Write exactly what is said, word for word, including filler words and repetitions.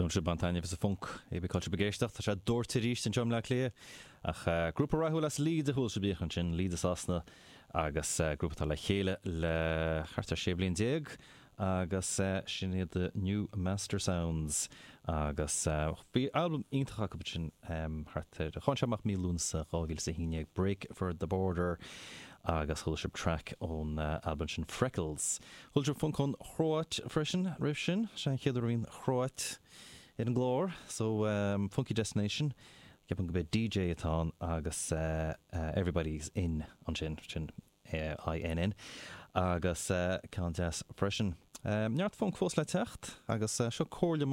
Sibh ag baint taitneamh as an bhfunc é be culture begéisteach tá sé dúirt arís anseo i mBleá Cliath ach uh, grúpa rathúil as Leeds a chuala sibh ansin Leeds i Sasana agus uh, grúpa atá le chéile le thart ar sé bliana déag agus uh, sin iad the New Mastersounds agus uh, bhí album iontach acu sin um, thart ar tháinig sé amach mí Lúnasa dhá mhíle a haon déag Break for the Border agus chuala sibh track ón uh, album sin Freckles. Chuala sibh funk ón Chróit freisin roimh sin sé an chéad uair an Chróit ar an gclár, so um, Funky Destination, Ceapaim go b'é DJ atá agus uh, uh, everybody's in ansin sin uh, INN agus uh, ceann deas freisin. Um, Neart funk fós le teacht agus uh, seo comhairle